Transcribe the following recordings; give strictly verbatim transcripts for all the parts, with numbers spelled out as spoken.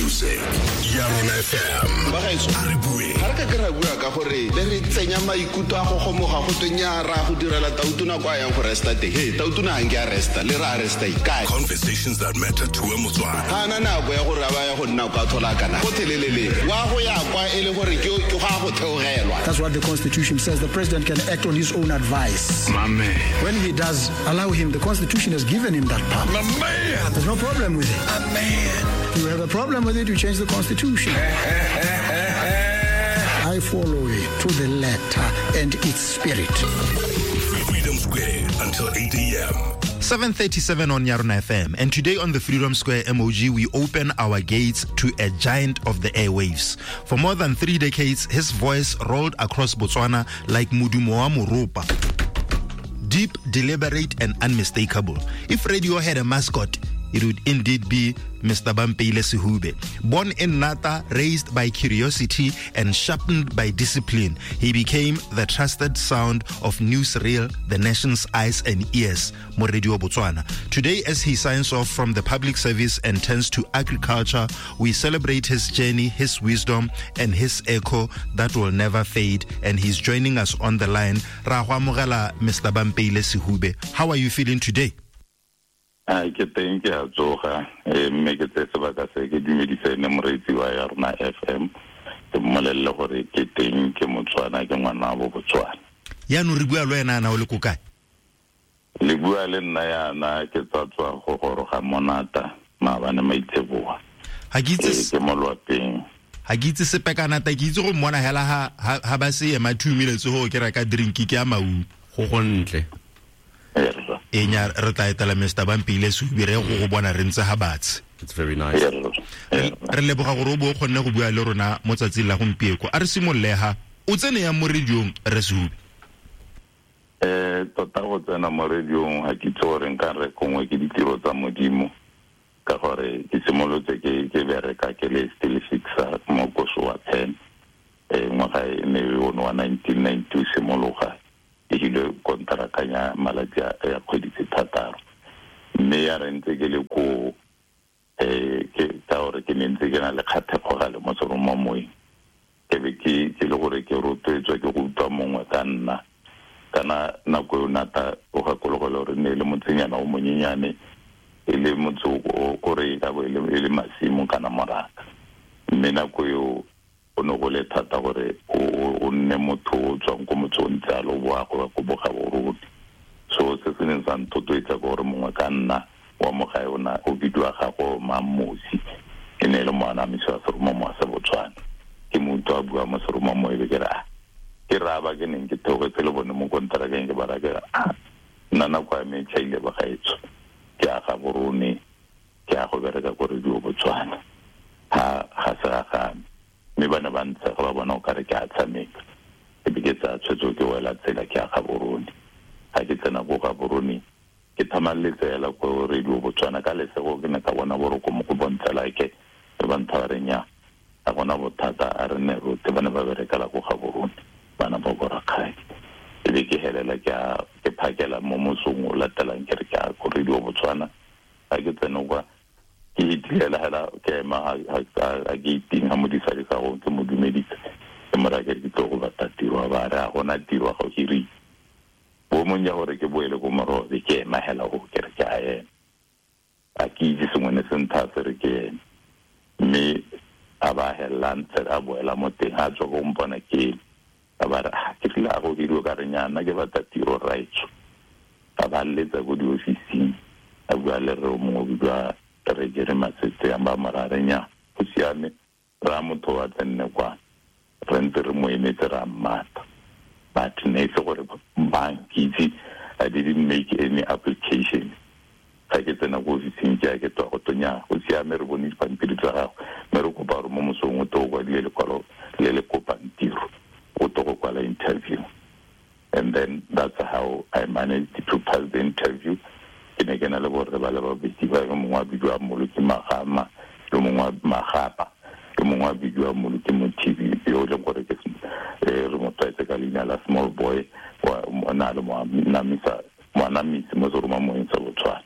Music. Yarona F M. A re bue. Ga re ka ke ra bua ka gore le re tsenya maikutlo a go gomoga go twe nnyaa, ra go direla tautona kwa yang go resta teng. Hey, tautona ha nke a resta, le ra resta ikae? Conversations that matter to a Motswana. Ga ana nako ya gore a ba ya go nna kwa thola kana. Go thelelele. Wa go ya kwa e le gore ke ke go a go theogelwa. That's what the Constitution says. The president can act on his own advice. My man. When he does, allow him. The Constitution has given him that power. My man. There's no problem with it. My man. You have a problem with it, you change the Constitution. I follow it to the letter and its spirit. Freedom Square until eight a.m. seven thirty-seven on Yarona F M. And today on the Freedom Square M O G, we open our gates to a giant of the airwaves. For more than three decades, his voice rolled across Botswana like modumo wa moropa. Deep, deliberate, and unmistakable. If radio had a mascot, it would indeed be Mister Bampeile Sehube. Born in Nata, raised by curiosity and sharpened by discipline, he became the trusted sound of newsreel, the nation's eyes and ears, mo Radio Botswana. Today, as he signs off from the public service and turns to agriculture, we celebrate his journey, his wisdom, and his echo that will never fade. And he's joining us on the line. Ra go amogela, Mister Bampeile Sehube. How are you feeling today? A ke teng ke a tsoga mme ke tse sebaka se ke dumedise ne moreetsi wa ya rona F M ke mmolelle gore ke teng ke Motswana ke ngwana wa Botswana. Yaanong re bua le wena ana o le ko kae? Le bua le nna yana ke tswa tswa go goroga Monata maabane maitseboa. Ha ke itse ke mo lwapeng. Ha ke itse sepe ka Nata, ke itse go mmona hela ha ha ba se ema two minutes go ke reka drink ke ya maungo. Go gontle. E nya re tla etela Mister Bampeile Sehube re go go bona re ntse ha batse. It's very nice. Re leboga gore o bo o kgonne go bua le rona mo tsatsing la gompieko. A re simolole ha o tsene yang mo radiong re Sehube? Eh tota go tsena mo radiong ha ke itse gore nka re gongwe ke ditiro tsa Modimo ka gore ke simolotse ke ke bereka ke le still fixer mo Kosowa ten eh ngwaga e ne o wa nineteen ninety-two simologa ke ile kontraka ya malatsi a ya kgwedi tse thataro mme ya re ntse ke le ko eh ke ka gore ke ne ntse ke na le kgathego gale mo seromamoeng ke be ke ke le gore ke rotloetswa ke go utlwa mongwe ka nna kana nako eo Nata o gakologela gore ne e le motsenyana o monyenyane e le motse o kore e ka bo e le masimo kana moraka mme nako eo o ne go le thata gore o nne motho o tswang ko motse o ntse a lo boa go ko Bogaborone. So se se neng sa nthotloetsa ke gore mongwe ka nna wa mo gae ona o bidiwa gago Mammosi e ne e le moanamisi wa seromamowa sa Botswana. Ke mo utlwa a bua mo seromamowa e be ke re ah ke raba ke neng ke theogetse le bone mo konterakeng ke ba raya ke re ah nna nako ya me e tšhaile bagaetsho ke a Gaborone ke a go bereka ko Radio Botswana ha ga se ga game. Mme ba ne ba ntshega ba bona o kare ke a tshameka e be ke tsaya tshwetso ke wela tsela ke a Gaborone. Ga ke tsena ko Gaborone ke thamaletse hela ko Radio Botswana ka lesego ke ne ka bona boroko mo go bontsha like e ba ntha ba re nnyaa ga gona bothata a re ne rote ba ne ba berekela ko Gaborone bana ba ko Rakgadi. E be ke helela ke a ke phakela mo mosong o latelang ke re ke a ko Radio Botswana. Ga ke tsena kwa ke itilela hela ke ema ha ke iting ha modisa ke sa go ke mo dumedisa ke mo raya ke re ke tlo go batla tiro ba re a gona tiro ga o hirile bo mong ya gore ke boele ko morobe ke ema hela go ke re ke a ema a ke itse sengwe ne se ntha se re ke eme mme a ba hela ntse a boela mo teng a tswa go mpona ke a ba re ke tlile a go hiriwa ka re nyana ke batla tiro raitsho a ba letsa ko diofising a bua le re o mongwe o bidiwa re ke re matsetse a ba morare nya go siame ra motho wa tsenne kwa re ntse re mo emetse ra mmata but ne e se gore bank itse I didn't make any application. Ga ke tsena ko ofising ke a ke tswa go tonya go siame re bone dipampiri tsa gago mme re kopa gore mo mosong o to o kwadile lekwalo le le kopang tiro o to go kwala interview. And then that's how I managed to pass the interview. Ke ne ke na le borre ba le babedi ba yo mongwe a bidiwa Mmoloki Magama yo mongwe wa Magapa yo mongwe a bidiwa Mmoloki Mothibi yo e leng gore ke re mo tlwaetse ka leina la Small Boy wa na le moanamisa moanamisi mo seromamoeng sa Botswana.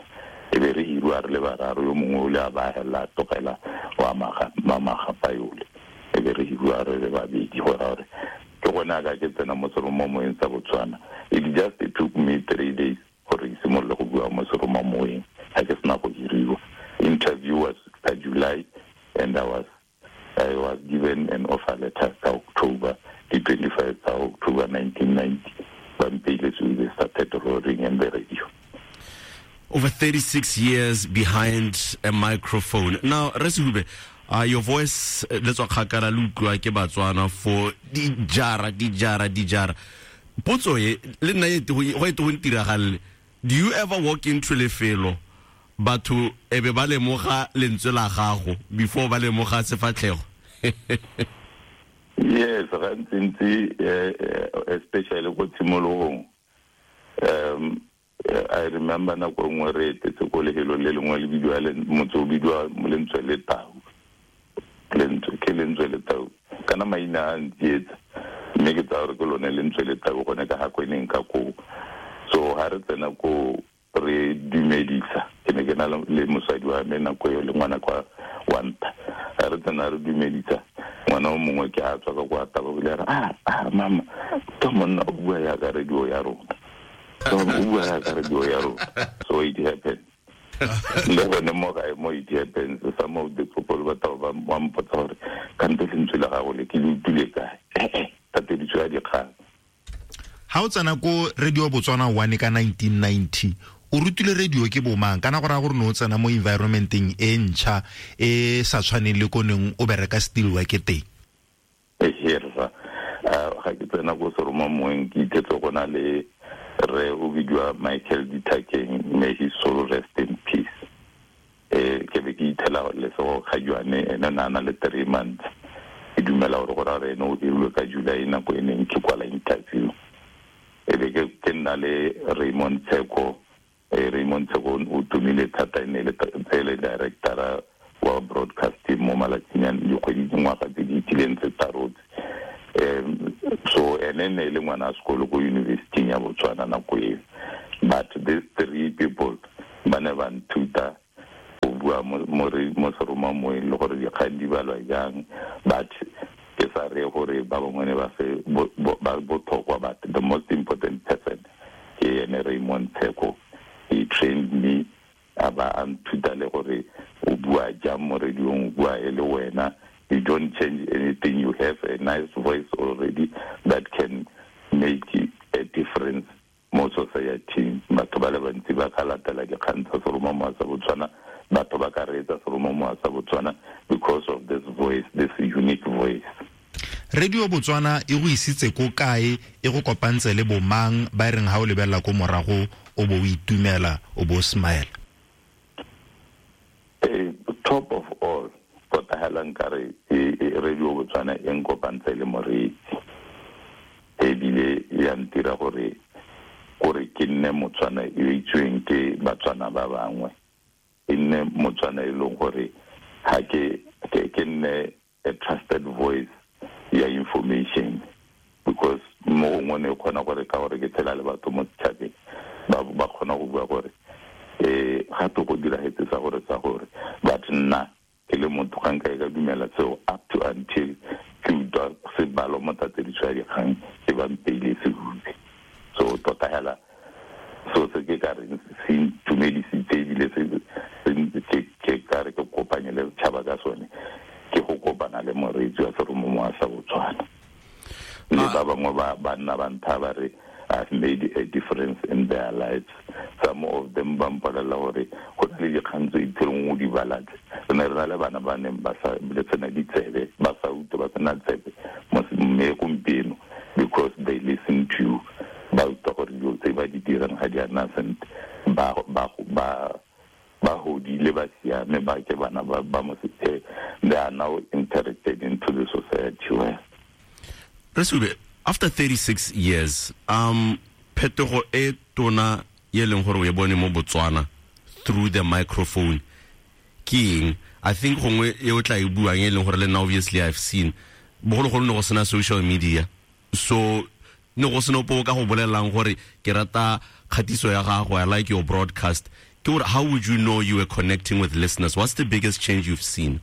E be re hirwa re le bararo yo mongwe o le a ba hela tlogela wa Magapa yole e be re hiriwa re le babedi go raya gore ke gone a ka ke tsena mo seromamoyeng sa Botswana. It just it took me three days gore ke simolole go bua mo seromamoyeng ga ke sena go hiriwa. Interview was ka July and I was I was given an offer letter ka October, the twenty-fifth of October nineteen ninety. When we started roaring in the radio. Over thirty-six years behind a microphone. Now, Rre Sehube, uh, your voice, le tswa kgakala le utlwa ke Batswana for dijara, dijara, dijara. Potso e, le nna e go e go ntiragalle. Do you ever walk into lefelo batho e be ba lemoga lentswe la gago before ba lemoga sefatlhego? Yes, gantsi, especially ko tshimologong. Um I remember nako nngwe re etetse ko lefelong le lengwe le bidiwa motse o bidiwa Lentswe le Tau. Lentswe ke Lentswe le Tau. Kana maina a ntsietsa mme ke tsaya gore ke lone Lentswe le Tau gone ka ga kweneng ka koo. So ha re tsena ko re dumedisa, ke ne ke na le mosadi wa me nako eo le ngwana kwa wa ntha. Ha re tsena re dumedisa, ngwana o mongwe ke a tswa ka kwa tabogile a re, ah, ah, mama, ke monna o bua yaka radio ya rona. So o bua yaka radio ya rona. So it happened. Le gone mo gae mo it happens. Some of the people ba taba ba mpotsa gore kante lentswe la gago le ke le utlwile kae. Eh, tatediso ya dikgang. Ha o tsena ko Radio Botswana one ka nineteen ninety, o rutile radio ke bomang? Kana go raya gore ne o tsena mo environmenteng e ntšha e sa tshwaneng le ko neng o bereka still work teng. Eherra, ga ke tsena ko seromamoyeng ke ithetse go na le re o bidiwa Michael Ditakeng, may his soul rest in peace. Eh, ke be ke ithela Lesego Kgajwane, ene na na le three months. Ke dumela gore go raya gore ene o dirilwe ka July nako e neng ke kwala interview. E be ke ke nna le Raymond Tsheko. Raymond Tsheko o tumile thata, e ne le le director wa broadcasting mo malatsing a dikgwedi dingwaga tse di itileng tse tharo tse. Um, so ene ne le ngwana a sekolo ko university ya Botswana nako eo. But these three people ba ne ba nthuta go bua mo mo seromamoyeng le gore dikgang di balwa jang, but ke sa re gore ba bangwe ne ba se ba botlhokwa, but the most important person ke ene Raymond Tsheko. He trained me a ba a nthuta le gore o bua jang mo radiong, o bua e le wena. You don't change anything. You have a nice voice already that can make a difference mo society. Batho ba le bantsi ba ka latela dikgang tsa seromamowa sa Botswana, batho ba ka reetsa seromamowa sa Botswana because of this voice, this unique voice. Radio Botswana e go isitse ko kae, e go kopantse le bomang ba e reng ha o lebelela ko morago o bo o itumela, o bo smile? Eh, top of all, tota hela nkare Radio Botswana e nkopantse le moreetsi, ebile ya ntira gore gore ke nne Motswana e itsweng ke Batswana ba bangwe, e nne Motswana e leng gore ha ke ke nne a trusted voice ya information, because mo gongwe ne kgona gore ka gore ke tshela le batho mo setšhabeng ba ba kgona go bua gore eh gape go diragetse sa gore sa gore, but nna ke le motho ga nka e ka dumela seo up to until ke utlwa sebalo mo tatediso ya dikgang ke ba mpeile Sehube. So tota hela so se ke ka reng se ntumedisitse ebile se ke ka re ke kopanye le setšhaba ka sone, ke go kopana le moreetsi wa seromamowa sa Botswana. Le ba bangwe ba ba nna ba ntha ba re I've made a difference in their lives. Some of them ba mpolelela gore go na le dikgang tse itseng o di balatse. Re ne re na le bana ba neng ba sa le tsena ditsebe, ba sa utlwe, ba sena tsebe mme gompieno because they listen to you, ba utlwa gore dilo tse ba di dirang ga di a nna sentle, ba ba ba ba hodile, ba siame, ba ke bana ba ba mo they are now integrated into the society well. Rre Sehube, after thirty-six years, um phetogo e tona ye leng gore o e bone mo Botswana through the microphone ke eng? I think gongwe e o tla e buang e leng gore le nna obviously I've seen bogologolo ne go sena social media, so ne go sena ope o ka go bolelelang gore ke rata kgatiso ya gago, I like your broadcast. Ke gore how would you know you were connecting with listeners? What's the biggest change you've seen?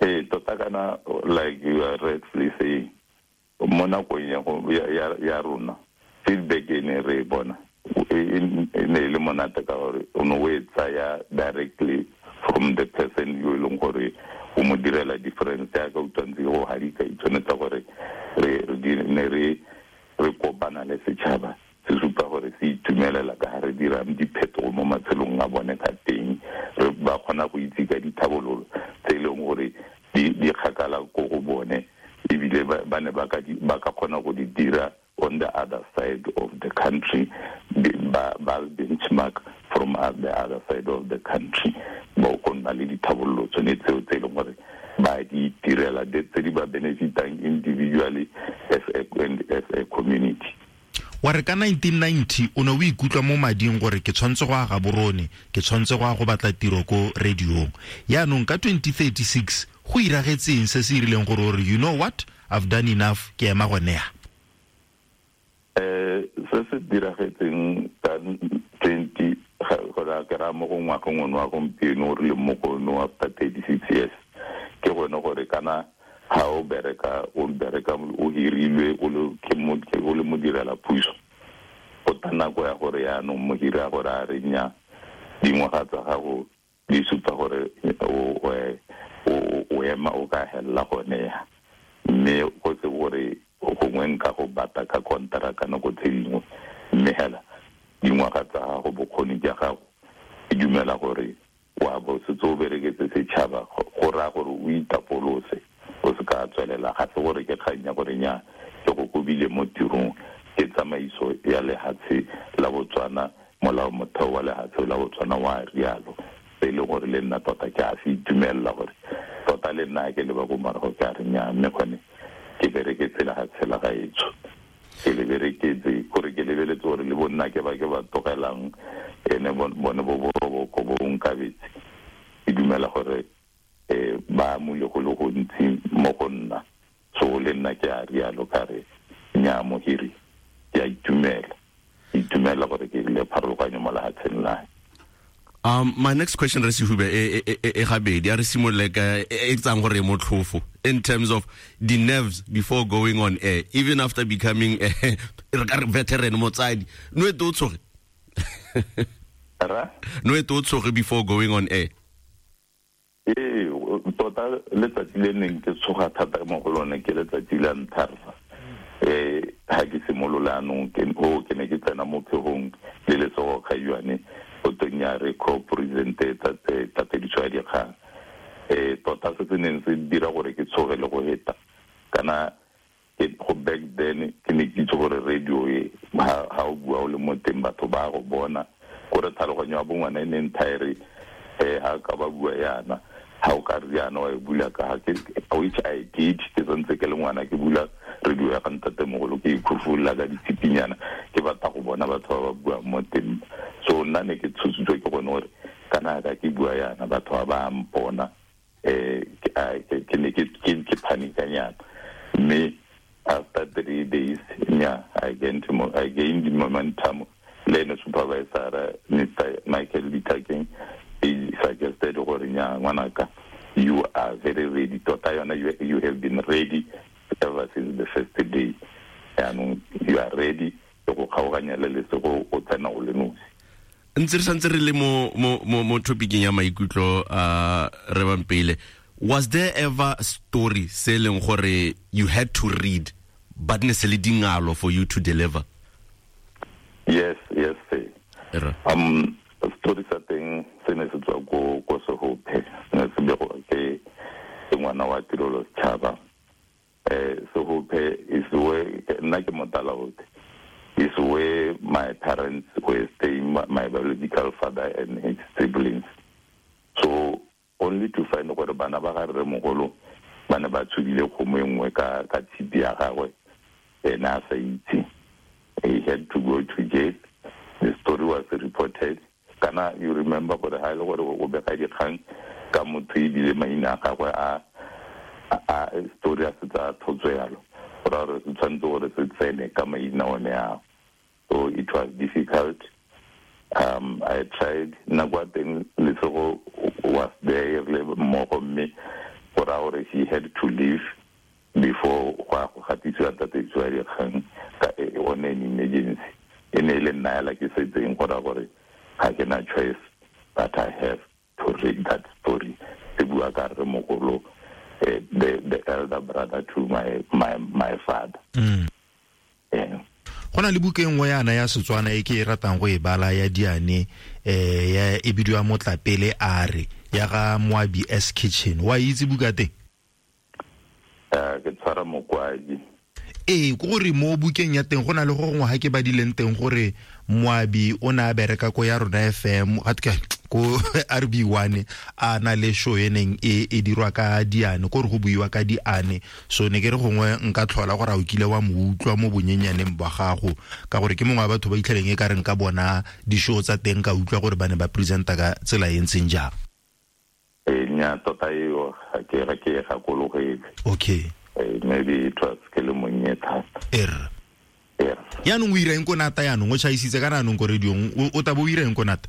Ee, tota kana like you are rightfully saying, mo nakong ya ya rona feedback e ne re e bona e ne e le monate ka gore o ne o e tsaya directly from the person yo e leng gore o mo direla difference ya ka utlwantse go hadika e tshwanetse gore re ne re re kopana le setšhaba se supa gore se itumelela ka ga re dirang diphetogo mo matshelong a bone ka teng, re ba kgona go itse ka dithabololo tse e leng gore di kgakala ko go bone, ebile ba ne ba ka kgona go di dira on the other side of the country, ba ba benchmark from the other side of the country, ba go nna le dithabololo tsone tseo tse e leng gore ba di direla tse di ba benefitang individually as a, as a community. Wa re ka nineteen ninety o ne o ikutlwa mo mading gore ke tshwanetse go aga Gaborone, ke tshwanetse go ya go batla tiro ko radiong. Yaanong ka twenty thirty-six go iragetseng se se irileng gore gore you know what, I've done enough, ke ema gone ya? Eh, se se diragetseng ka twenty gore ke ra mo go ngwageng ono wa gompieno re le mo go ono after thirty-six years, ke gone gore kana ha o bereka o bereka o hirilwe o le ke mo o le modirela puso, go ta nako ya gore yaanong mohiri a gore a re nya dingwaga tsa gago di supa gore o o ema o ka hella gone ya, mme go se gore gongwe nka go bata ka kontraka nako tse dingwe, mme hela dingwaga tsa gago bokgoni jwa gago e dumela gore wa bo setse o bereketse setšhaba, go raya gore o itapolose o se ka tswelela. Ga se gore ke kgang ya gore nya ke go kobile mo tirong, ke tsamaiso ya lehatshe la Botswana, molao motheo wa lehatshe la Botswana wa rialo, se e leng gore le nna tota ke a se itumelela gore tota le nna ke leba ko morago ke a re nya mme gone ke bereketse lehatshe la gaetsho, ke le bereketse gore ke lebeletse gore le bonna ke ba ke ba tlogelang ene bone bo boroboko bo nkabetse, ke dumela gore eh ba amule go le gontsi mo go nna, so le nna ke a rialo ka re nya mohiri ke a itumela, itumela gore ke le pharologanyo mo lehatsheng la. Um, my next question, Rre Sehube, e e gabedi a re simolole ka e tsang gore motlhofo in terms of the nerves before going on air, even after becoming a veteran motsadi, no e to tshoge ra no e to tshoge before going on air? Ee, tota letsatsi le neng ke tshoga thata mo go lone ke letsatsi la ntlha eh ha ke simolola anong ke o ke ne ke tsena mo phegong le letsogo kgaiwane go teng ya re co-presente tatediso ya dikgang. Eh tota se se neng se dira gore ke tshoge le go heta kana ke go back then ke ne ke itse gore radio e ha o bua o le mo teng batho ba go bona gore tlhaloganyo ya bongwana e ne nthaere eh ha ka ba bua yana ha o ka riana wa e bula ka ke which I did ke santse ke le ngwana ke bula radio ya ka ntatemogolo ke ikhufulla ka ditshipinyana ke batla go bona batho ba ba buang mo teng. So nna ne ke tshositswe ke gone gore kana ka ke bua yana batho ba ba mpona eh ke ne ke ke panikanyana, mme after three days nya I gained I gained momentum. Le ne supervisor Mister Michael Litakeng he suggested gore nya ngwanaka you are very ready tota yona you, you have been ready ever since the first day, and you are ready go kgaoganya le lesego o tsena o le nosi. Ntse re santse re le mo mo mo topicing ya maikutlo a re Bampile, was there ever story se leng gore you had to read but ne se le dingalo for you to deliver? Yes, yes sir. Um story sa teng se ne se tswa ko ko Sehophe, ne se bego ke ngwana wa Tirelo Setšhaba. Eh Sehophe is where nna ke motala ote is where my parents were staying, my biological father and his siblings. So only to find gore bana ba ga rre mogolo ba ne ba tshubile kgomo e nngwe ka ka tshipi ya gagwe ene a sa itse. He had to go to jail. The story was reported. Kana you remember gore ha ile gore o bega dikgang ka motho ebile maina a gagwe a a story a setsa thotswe yalo gore re se tshwanetse gore se tsene ka maina one ao. So it was difficult. Um, I tried. Nako ya teng Lesego was there le mmogo mme gore gore she had to leave before go go gatisiwa tatediso ya dikgang ka on an emergency. E ne e le nna hela ke setseng go raya gore ga ke na choice but I have to read that story. E bua ka rremogolo, eh, the the elder brother to my my my father. Mm. Yeah. Go na le buka e nngwe yana ya Setswana e ke e ratang go e bala ya diane, eh ya e bidiwa Motlapele a re ya ga Moabi S Kitchen. Wa itse buka teng? Eh ke tshwara mokwadi. Ee, ke gore mo bukeng ya teng go na le go gongwe ga ke badileng teng gore Moabi o ne a bereka ko ya rona F M, ga ke ko R B one, a na le show e neng e e dirwa ka diane, ko re go buiwa ka diane. So ne ke re gongwe nka tlhola gore a o kile wa mo utlwa mo bonyenyaneng ba gago, ka gore ke mongwe wa batho ba itlheleng e ka reng ka bona di-show tsa teng ka utlwa gore ba ne ba presenta ka tsela e ntseng jang. Eh nya tota eo ga ke ga ke gakologele. Okay. Eh, maybe it was ke le monnye thata. Er. Er. Yaanong o ira eng ko nata yaanong? O tšhaisitse ka naanong ko radiong, o tabo o ira eng ko nata?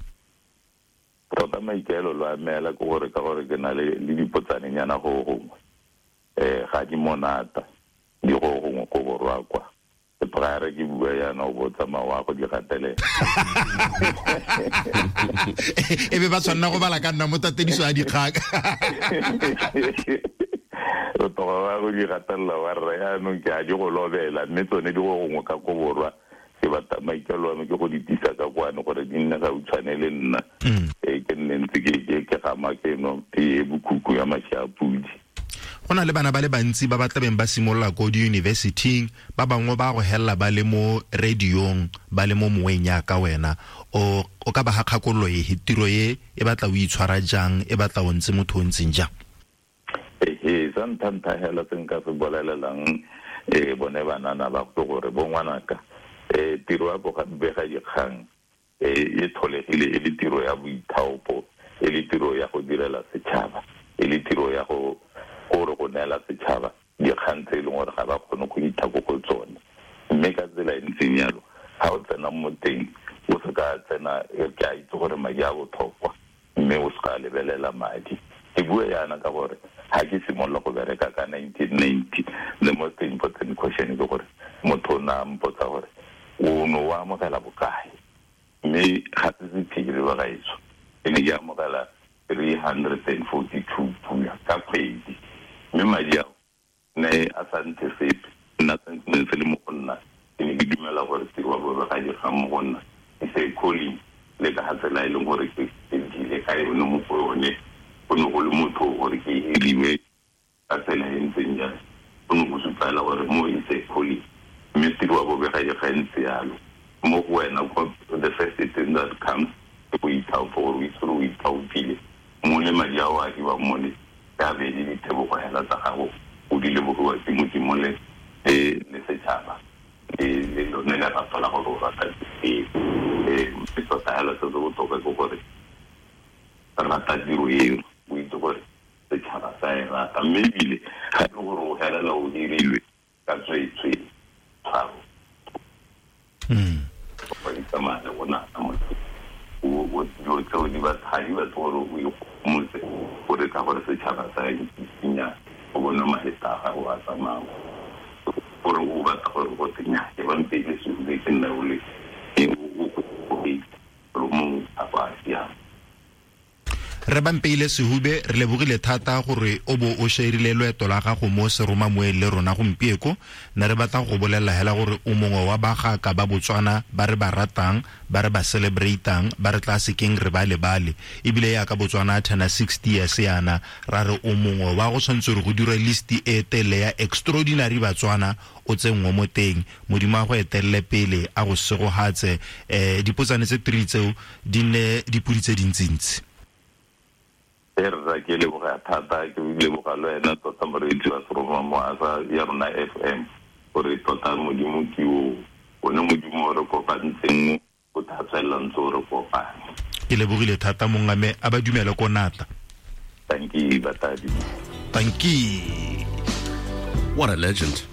Tota maikaelelo a me hela ke gore ka gore ke na le le dipotsanenyana go gongwe. Eh ga di monata, di go gongwe ko borwa kwa. E praere ke bua yana o bo tsamaya wa go di gatelela. E be ba tshwanna go bala ka nna mo tatediso ya dikgang. O toga wa go di gatelela wa rra yaanong ke a di go lobela, mme tsone di go gongwe ka ko borwa. Ke batla maikaelelo a me ke go di tisa ka kwano gore di nne ga utshwane le nna. Eh ke nne ntse ke ke ke gama ke no tee bokhukhu ya mashi a pudi. Go na le bana ba le bantsi ba ba tlabeng ba simolola ko di-university-ing, ba bangwe ba go hella ba le mo radiong, ba le mo moweng ya ka wena. O o ka ba ga kgakololo e, tiro e e batla o itshwara jang, e batla o ntse motho o ntseng jang? Ehe, sa ntlha-ntlha hela se nka se bolelelang, eh bone banana ba go gore bo ngwanaka, eh tiro ya go bega dikgang, eh e tlholegile e le tiro ya boithaopo, e le tiro ya go direla setšhaba, e le tiro ya go gore go neela setšhaba dikgang tse e leng gore ga ba kgone go itha ko go tsone. Mme ka tsela e ntseng jalo, ga o tsena mo teng, o se ka tsena, ke a itse gore madi a botlhokwa, mme o se ka lebelela madi. Ke bua yana ka gore ga ke simolola go bereka ka nineteen ninety, the most important question ke gore motho o ne a mpotsa gore o ne o amogela bokae, mme ga se sephiri ba gaetsho, ke ne ke amogela three hundred and forty-two pula ka kgwedi, mme madi ao ne a sa ntse sepe. Nna ne se le mo go nna, ke ne ke dumela gore tiro ya bobega dikgang mo go nna e se calling le ka ga tsela e leng gore ke dile ka yone mo go yone. Go ne go le motho gore ke hiriwe ka tsela e ntseng jalo, go ne go supela gore mo e se calling, mme tiro ya bobega dikgang e ntse yalo. Mo go wena, the first thing that comes ke go ithaopa, gore o itse gore o ithaopile mo le madi ao a hiwang mo le ka be le ditebogo hela tsa gago, o di lebogiwa ke Modimo le le setšhaba le le lone lerato la gore o rata tiro. Eh mme tota hela se se botlhokwa ke gore rata tiro eo, o itse gore setšhaba sa e rata, mme ebile ga e le gore o helela o hirilwe ka tsweetswe tshwaro. Go itsamaya le go nata motho o dilo tseo di ba ga di batle gore o ikgomotse gore ka gore setšhaba sa isinya o bone maeta a gago a tsamaya, gore o batla gore go tsenya ke ba mpeile sehube ke nna o le o gore mongwe a go a siama. Re Bampeile Sehube, re lebogile thata gore o bo o shairile loeto la gago mo seromamoeng le rona gompieko. Ne re batla go bolelela hela gore o mongwe wa bagaka ba Botswana ba re ba ratang, ba re ba celebratang, ba re tla sekeng re ba lebale. Ebile yaka Botswana a turna sixty years yana, ra re o mongwe wa go tshwanetse gore go dirwe list e tele ya extraordinary Batswana o tsenngwe mo teng. Modimo a go etelele pele, a go segogatse. Eh dipotsane tse three tseo di nne dipodi tse dintsintsi. Rra ke leboga thata, ke leboga le wena tota moreetsi wa seromamowa sa ya rona F M, gore tota Modimo ke o, one Modimo o re kopantseng, o tla tswelela ntse o re kopane. Ke lebogile thata mongame, a ba dumele ko nata. Thank you, batadi. Thank you. What a legend.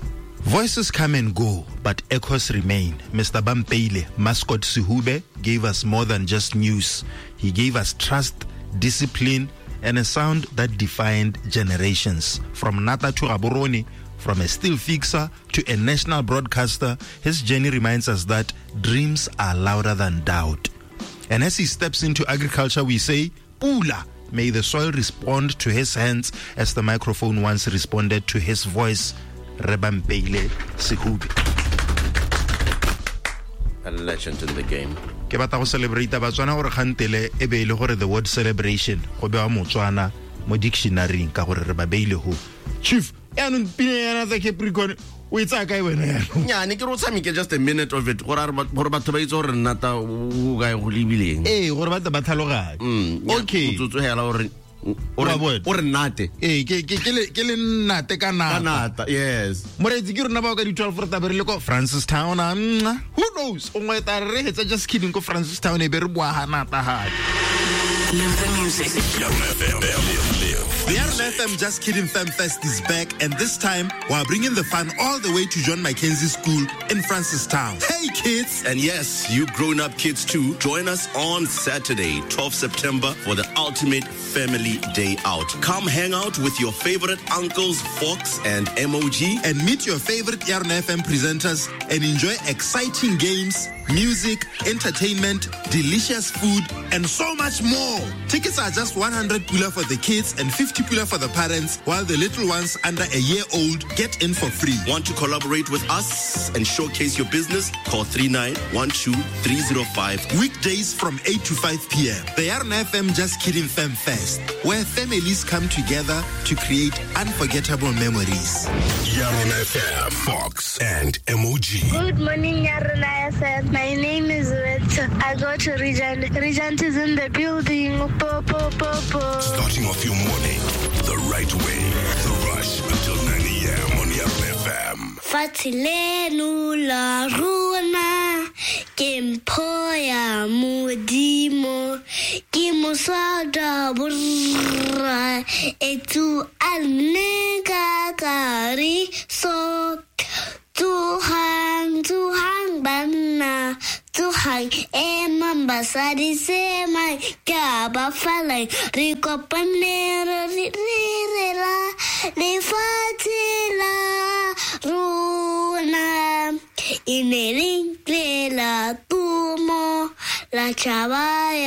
Voices come and go, but echoes remain. Mister Bampeile, Mascot Sehube, gave us more than just news. He gave us trust, discipline, and a sound that defined generations. From Nata to Gaborone, from a steel fixer to a national broadcaster, his journey reminds us that dreams are louder than doubt. And as he steps into agriculture, we say, Pula, may the soil respond to his hands as the microphone once responded to his voice. Rebampeile Sehube. A legend in the game. Ke batla go celebrate Batswana gore gantele e be ile gore the word celebration go bewa Motswana mo dictionary ka gore re ba beile ho. Chief, yaanong pina yana tsa Capricorn o e tsaya kae wena yaanong? Nyane ke re o tshameke just a minute of it gore gore batho ba itse gore nnata o kae go lebileng. Ee, gore batho ba tlhaloganye. Okay. Motsotso hela gore o re nnate. Ee, ke ke ke le nnate ka nata. Ka nata, yes. Moreetsi ke rona bao ka di twelve re tabe re le ko Francistown. Who knows? O ngwe ta re hetsa just kidding ko Francistown e be re boa ha nata hape. Live the music. The Yarona F M Just Kidding Fam Fest is back, and this time we are bringing the fun all the way to John Mackenzie School in Francistown. Hey kids! And yes, you grown-up kids too. Join us on Saturday, twelfth September, for the ultimate family day out. Come hang out with your favorite uncles, Fox and M O G, and meet your favorite Yarona F M presenters and enjoy exciting games, music, entertainment, delicious food, and so much more. Tickets are just one hundred pula for the kids and fifty pula for the parents, while the little ones under a year old get in for free. Want to collaborate with us and showcase your business? Call three nine one two three zero five. Weekdays from eight to five p.m. The Yarona F M Just Kidding Fam Fest, where families come together to create unforgettable memories. Yarona F M, Fox and M O G. Good morning, Yarona F M. My name is Rita. I go to Regent. Regent is in the building. Po, po, po, po. Starting off your morning the right way. The Rush until nine a.m. on Yarona F M. Fatshe leno la rona ke mpho ya Modimo, ke mosada borra etsu a nne ka kariso. Tsohang, tsohang banna, tsohang emang basadi semang, ke a ba falang, re kopane re rera lefatshe la rona. E ne le la tumo la tšhaba ya